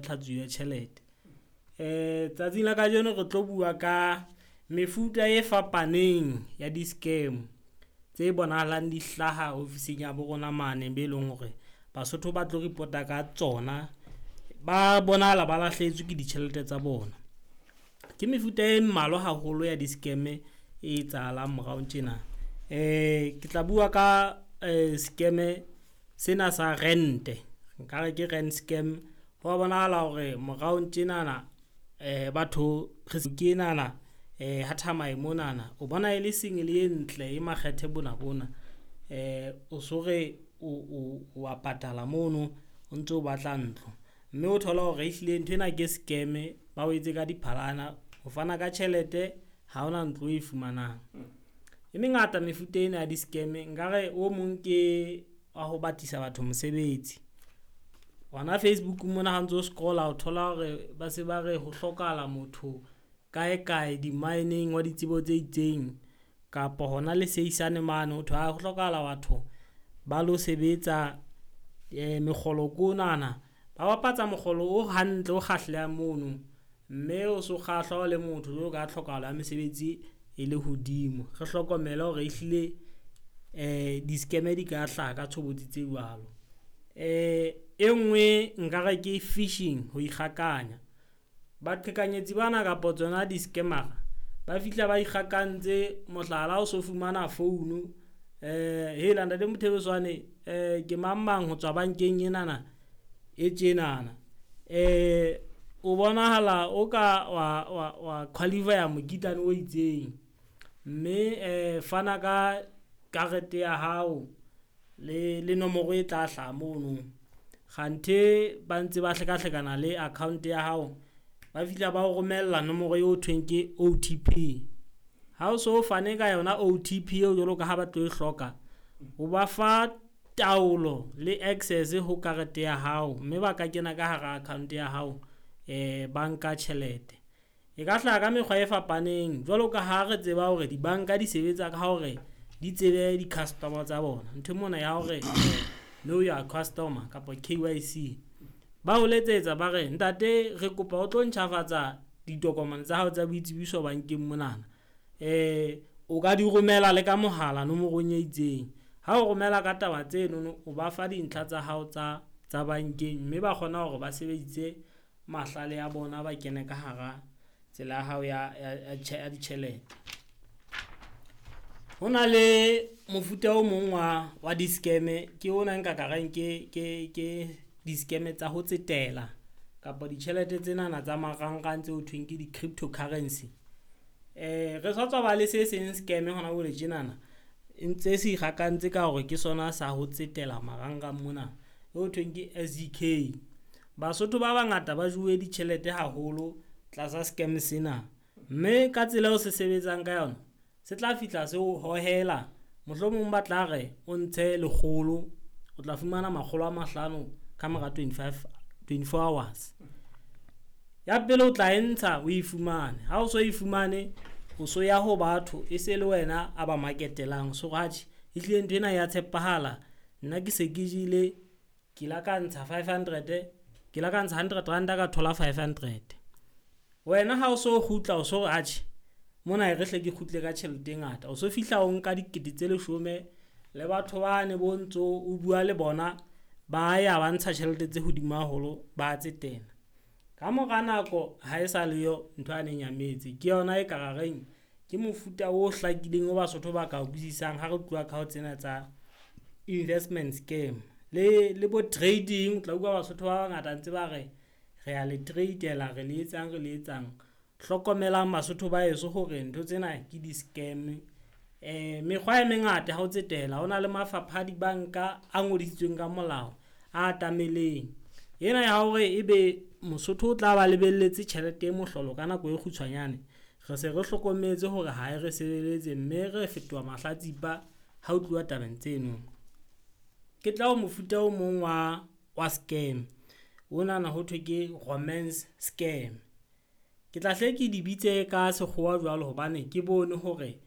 tlhatsuo ya tjhelete. Tsatsing la kajeno re tlo bua ka mefuta e fapaneng ya di-scam tse bonahalang di hlaha ofising ya bo rona mane be leng hore Basotho ba tlo report-a ka tsona. Ba bonahala ba lahlehetswe ke ditjhelete tsa bona. Ke mefuta e mmalwa haholo ya di-scam e etsahalang morao tjena. Ke tla bua ka scam sena sa rent-e, nkare ke rent scam. Ho wa bonahala hore moraong tjenana batho re ke enana ha Thamae monana. O bona e le single e ntle e makgethe bona bona. O so re o wa patala mono o ntso batla ntlo. Mme o thola hore ehlile nthwena ke scam ba o etse ka diphalana. Ho fana ka tjhelete ha hona ntlo e fumanang. E mengata mefuta ena ya di-scam nkare o mong ke wa ho batisa batho mosebetsi. Hona Facebook mona ha o ntso scroll-a o thola hore ba se ba re ho hlokahala motho kae kae di-mine-eng wa ditsebo tse itseng. Kapa hona le Seisane mane ho thwe ho hlokahala batho ba lo sebetsa mekgolo ke onana. Ba bapatsa mokgolo o hantle, o kgahlehang mono. Mme o so kgahlwa o le motho jwalo ka tlhokahalo ya mesebetsi e le hodimo. Re hlokomele hore ehlile di-scam di ka hlaha ka tshobotsi tse jwalo. E nngwe nkare ke fishing, ho ikgakanya. Baqhekanyetsi bana kapa tsona di-scammer-a ba fihla ba ikgakantse. Mohlala, o so fumana founu hela ntate Mothebeswane ke mang mang ho tswa bankeng enana e tjenana. O bonahala o ka wa qualify-a mokitlane o itseng. Mme fana ka karete ya hao le nomoro e tla hlaha mono. Kganthe ba ntse ba hlekahlekana le account ya hao, ba fihla ba o romella nomoro eo thweng ke OTP. Ha o so fane ka yona OTP eo jwalo ka ha ba tlo e hloka, o ba fa taolo le access ho karete ya hao. Mme ba ka kena ka hara account ya hao ba nka tjhelete. E ka hlaha ka mekgwa e fapaneng jwalo ka ha re tseba hore dibanka di sebetsa ka hore di tsebe di-customer tsa bona. Ntho mona ya hore know your customer kapa KYC. Ba o letsetsa ba re, ntate re kopa o tlo ntjhafatsa ditokomane tsa hao tsa boitsebiso bankeng monana. O ka di romela le ka mohala nomorong e itseng. Ha o romela ka taba tsenono, o ba fa dintlha tsa hao tsa bankeng. Mme ba kgona hore ba sebedise mahlale a bona, ba kene ka hara tsela ya hao ya ditjhelete. Ho na le mofuta o mong wa di-scam ke ona nka ka reng ke di-scam tsa ho tsetela kapa ditjhelete tsenana tsa marangrang tseo thweng ke di-cryptocurrency. Re sa tswa ba le se seng scam hona jwale tjenana. E ntse se ikgakantse ka hore ke sona sa ho tsetela marangrang mona ho thweng ke SDK. Basotho ba bangata ba jowe ditjhelete haholo tlasa scam sena. Mme ka tsela eo se sebetsang ka yona, se tla fihla se o hohela. Mohlomong ba tla re o ntshe lekgolo, o tla fumana 500 ka mora 24 hours. Ya pele o tla e ntsha o e fumane. Ha o so e fumane, o so ya ho batho e se le wena a ba maketelang. So atjhe, ehlile nthwena ya tshepahala. Nna ke se ke jele, ke la ka ntsha 500, ke la ka ntsha hundred ranta ka thola 500. Wena ha o so kgutla o so re atjhe, mona e re hle ke kgutle ka tjhelete e ngata. O so fihla o nka 10 000 le batho bane bo ntso o bua le bona, ba ya ba ntsha tjhelete tse hodimo haholo, ba tsetela. Ka mora nako ha e sa leyo ntho yane e nyametse. Ke yona e ka ra reng ke mofuta o hlakileng o Basotho ba ka utlwisisang ha re tluwa ka ho tsena tsa investment scam. Le bo trading, o tla utlwa Basotho ba bangata ntse ba re re a le trade-ela, re le etsang, re le etsang. Hlokomelang Basotho ba heso hore ntho tsena ke di-scam. Mekgwa e mengata ya ho tsetela. Ho na le mafapha a dibanka a ngodisitsweng ka molao, a atameleng. Ena ya hore ebe Mosotho o tla ba lebelletse tjhelete e mohlolo ka nako e kgutshwanyane. Re se re hlokometse hore ha e re sebeletse, mme re fetoha mahlatsipa ha ho tluwa tabeng tseno. Ke tla o mofuta o mong wa scam. Onana ho thwe ke romance scam. Ke tla hle ke di bitse ka sekgowa jwalo hobane ke bone hore .